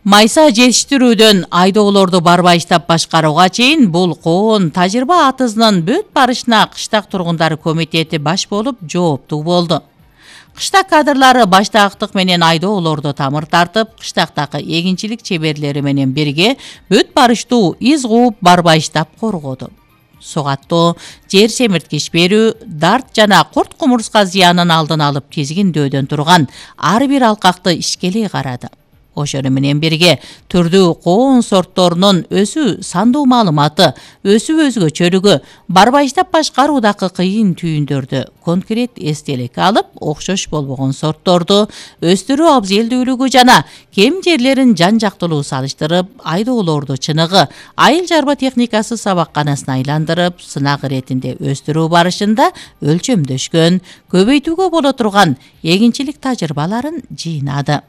Майса жетиштирүүдөн айдоолорду барбайыштап башкарууга чейин бул коон тажрыйба атызынын бүт барышына кыштак тургундары комитети баш болуп жооптуу болду. Кыштак кадрлары баштаактык менен айдоолорду тамыр тартып, кыштактагы эгинчилик чеберлери менен бирге бүт барыштуу из кууп барбайыштап коргоду. Сугаттоо, жер семирткич берүү, дарт жана курт кумурска зыянын алдын алып тизгиндөөдөн турган ар бир алкакты ишкелей карады. Ошону менен бирге түрдүү коон сортторунун өсүү сандуу маалыматы, өсүү өзгөчөлүгү, барбайыштап башкаруудагы кыйын түйүндөрдү конкрет эстеликке алып, окшош болбогон сортторду өстүрүү абзелдүүлүгү жана кем жерлерин жан-жактылуу салыштырып, айдоолорду чыныгы айыл чарба техникасы сабакканасына айландырып, сынак иретинде өстүрүү барышында өлчөмдөшкөн, көбөйтүүгө боло турган эгинчилик тажрыйбаларын жыйнады.